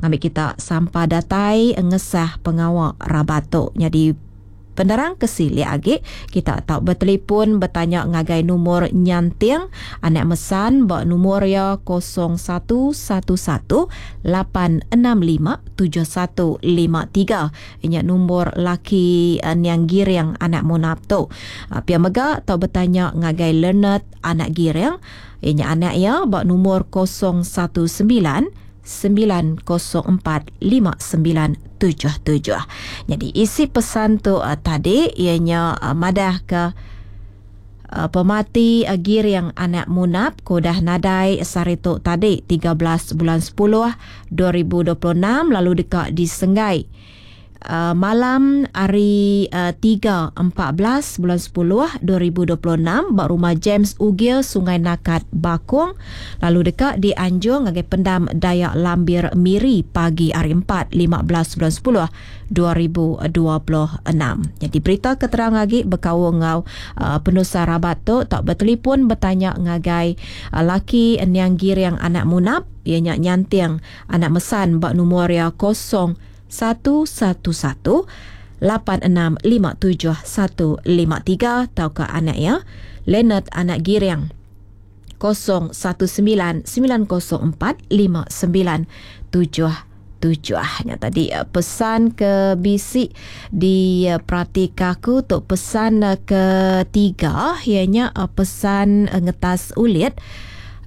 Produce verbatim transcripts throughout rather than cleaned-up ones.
Ngambi kita sampa datai ngesah pengawa rabat tu. Nyadi penerang ke silik agi kita tau bertelefon bertanya ngagai numur Nyanting anak Mesan ba numur ya kosong satu satu satu lapan enam lima tujuh satu lima tiga. Inya numur laki, eh, Niang Giring anak Munap tu. Ah, pia mega tau bertanya ngagai Leonard anak Giring. Inya anak ya ba numur kosong satu sembilan sembilan kosong empat lima sembilan tujuh tujuh. Jadi isi pesan tu, uh, tadi ianya, uh, madah ke, uh, pemati, uh, Giring anak Munap ku dah nadai sehari tu tadi tiga belas bulan sepuluh dua ribu dua puluh enam lalu deka disenggai, uh, malam hari, uh, tiga empat belas bulan sepuluh dua ribu dua puluh enam ba rumah James Ugil Sungai Nakat Bakong lalu deka dianjung ngagai pendam Dayak Lambir Miri pagi hari empat lima belas bulan sepuluh dua ribu dua puluh enam. Jadi berita keterang lagi berkaul ngau, uh, penusa rabat tu tak bertelefon bertanya ngagai, uh, laki Niang Giring anak Munap ianya Nyanting anak Mesan ba numur ya kosong satu satu satu lapan enam lima tujuh satu lima tiga atau ke anak ya Leonard anak Giring kosong satu sembilan sembilan kosong empat lima sembilan tujuh tujuh. Nya tadi, eh, pesan ke bisi di, eh, perhati aku tu pesan, eh, ketiga ianya, eh, pesan, eh, ngetas ulit.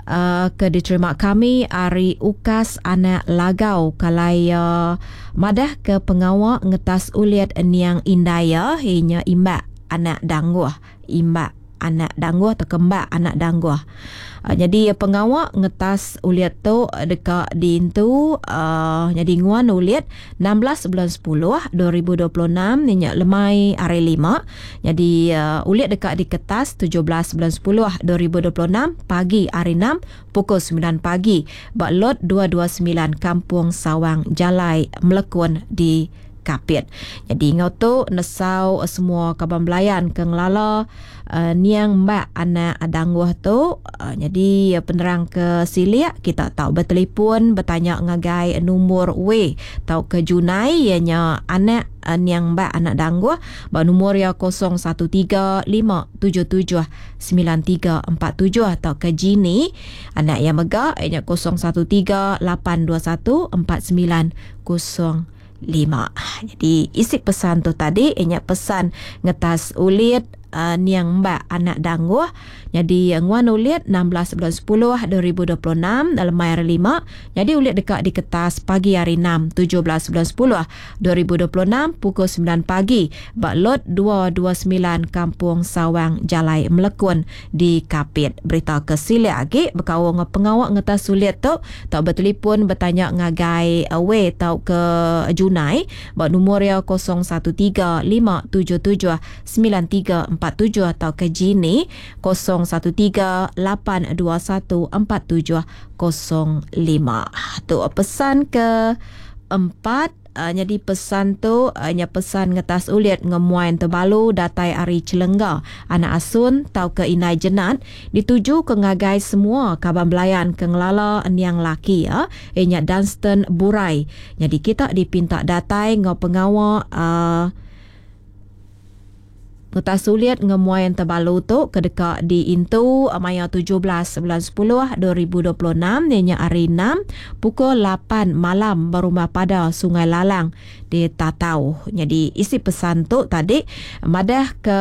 Uh, ke diterima kami ari Ukas anak Lagau kalai, uh, madah ke pengawa ngetas ulit niang indaya inya imbak anak dangguh, imbak anak dangguh atau kembak anak dangguh. Uh, jadi pengawa ngetas ulit tu deka diintu, uh, jadi nguan ulit enam belas bulan sepuluh dua ribu dua puluh enam inya lemai hari lima. Jadi, uh, ulit deka diketas tujuh belas bulan sepuluh dua ribu dua puluh enam pagi hari enam pukul sembilan pagi ba lot dua dua sembilan Kampung Sawang Jalai Melekun di Kapit. Jadi ngau tu nesau semua kaban belayan ke ngelala, uh, niang mbak anak dangguh tu. Uh, jadi penerang ke silik kita tau bertelefon bertanya ngagai nombor W tau ke Junai ianya anak, uh, niang mbak anak dangguh ba nombor ya kosong satu tiga lima tujuh tujuh sembilan tiga empat tujuh atau ke Jini anak yang mega ianya kosong satu tiga lapan dua satu empat sembilan kosong lima. Jadi isi pesan tu tadi ianya pesan ngetas ulit, uh, niang mbak anak dangguh. Jadi nguan ulit enam belas bulan sepuluh dua ribu dua puluh enam dalam hari lima. Jadi ulit dekat di kertas pagi hari enam tujuh belas bulan sepuluh dua ribu dua puluh enam pukul sembilan pagi bak lot dua dua sembilan Kampung Sawang Jalai Melekun di Kapit. Berita ke silik lagi berkaul dengan pengawak ngetas ulit tu tak bertelefon bertanya ngagai, uh, W tau ke Junai bak nombor ya kosong satu tiga lima tujuh tujuh sembilan tiga empat tujuh atau ke Jini kosong satu tiga lapan dua satu empat tujuh kosong lima. Tu pesan ke empat. Uh, jadi pesan tu, uh, nya pesan ngetas ulit ngemuain terbalu datai ari Celengga anak asun tau ke Inai Jenat dituju ke ngagai semua kaban belayan ke ngelala niang laki ya inya Dunstan Burai. Jadi kita dipinta datai ngau pengawa, uh, ngetas ulit ngemuain terbalu tu ke deka diintu maya tujuh belas bulan sepuluh dua ribu dua puluh enam ianya hari enam pukul lapan malam berumah pada Sungai Lalang di Tatau. Jadi isi pesan tu tadi madah ke,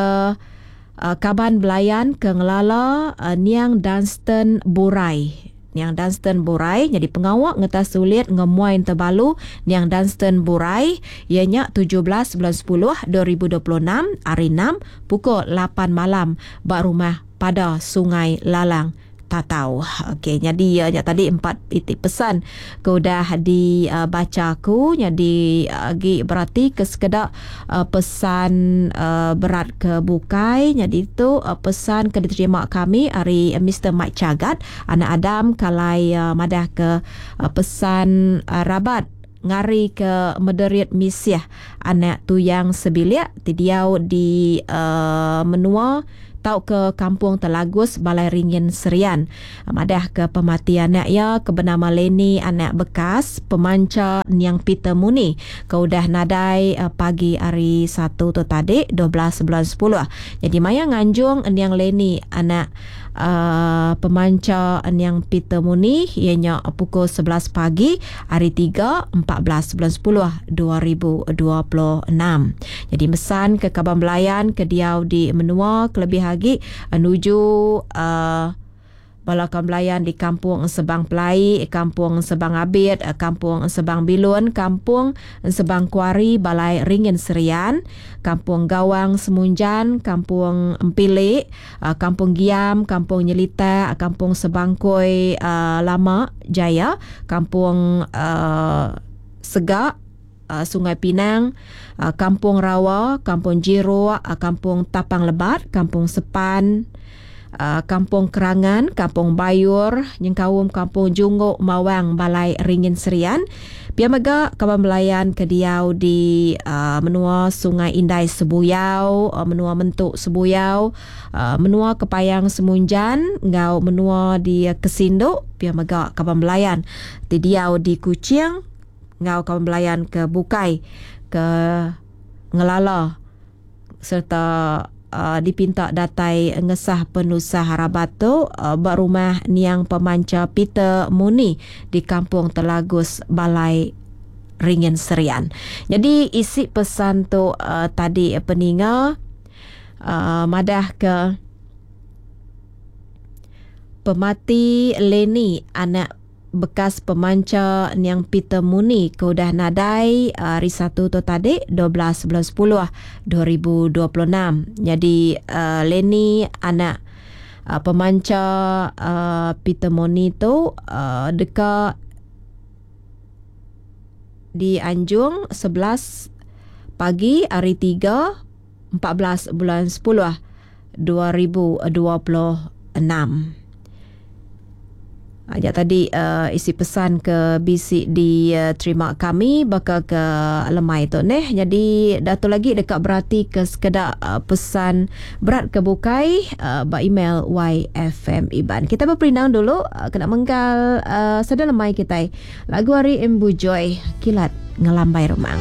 uh, kaban belayan ke ngelala, uh, niang Dunstan Burai. Niang Dunstan Burai jadi pengawak ngetas sulit ngemuain terbalu Niang Dunstan Burai ianya tujuh belas bulan sepuluh dua ribu dua puluh enam hari enam pukul lapan malam ba rumah pada Sungai Lalang Tatau. Okey, jadi ya, tadi empat titik pesan ke udah dibaca uh, aku. Jadi agi berarti ke sekedak, uh, pesan, uh, berat ke bukai. Jadi tu, uh, pesan ke diterima kami hari, uh, Mister Mike Chagat anak Adam kalai, uh, madah ke, uh, pesan, uh, rabat ngari ke Mederit Misiah anak tuyang sebilik ti diau di, uh, menua tauka Kampung Telagus Balai Ringin Serian. Madah ke pemati anak iya ke benama Lenny anak bekas pemancha Niang Peter Muni ke udah nadai pagi hari Satu tu tadi dua belas bulan sepuluh. Jadi maya nganjung Niang Lenny anak Uh, pemancha Niang Peter Muni ianya pukul sebelas pagi hari tiga empat belas bulan sepuluh dua ribu dua puluh enam. Jadi mesan ke kaban belayan ke diau di menua kelebih lagi menuju uh, bala kaban belayan di Kampung Sebang Pelai, Kampung Sebang Abit, Kampung Sebang Bilun, Kampung Sebang Kuari, Balai Ringin Serian, Kampung Gawang Semunjan, Kampung Empilik, Kampung Giam, Kampung Nyelita, Kampung Sebangkoi Lama Jaya, Kampung Segak, Sungai Pinang, Kampung Rawa, Kampung Jiruk, Kampung Tapang Lebat, Kampung Sepan, Kampung Kerangan, Kampung Bayur, Nyengkaum Kampung Junggok Mawang Balai Ringin Serian. Pia mega kaban belayan ke diau di uh, menua Sungai Indai Sebuyau, uh, menua Mentuk Sebuyau, uh, menua Kepayang Semunjan, ngau menua di Kesinduk. Pia mega kaban belayan di diau di Kuching, ngau kaban belayan ke Bukai ke Ngelala serta Uh, dipinta datai ngesah penusah harabat tu uh, berumah Niang Pemanca Peter Muni di Kampung Telagus Balai Ringin Serian. Jadi isi pesan tu uh, tadi peninga uh, madah ke pemati Lenny anak bekas pemanca Niang Peter Muni ke udah nadai hari Satu tu tadi dua belas bulan sepuluh dua ribu dua puluh enam. Jadi uh, Lenny anak uh, pemanca uh, Peter Muni tu uh, dekat di Anjung sebelas pagi hari tiga empat belas bulan sepuluh dua ribu dua puluh enam. Ajak tadi uh, isi pesan ke B C diterima uh, kami bakal ke lemai tu neh. Jadi datu lagi dekat berarti ke sekedak uh, pesan berat ke bukai uh, ba email Y F M Iban. Kita berperindang dulu uh, kena menggal uh, sada lemai kita. Lagu hari Embu Joy Kilat Ngelambai Remang.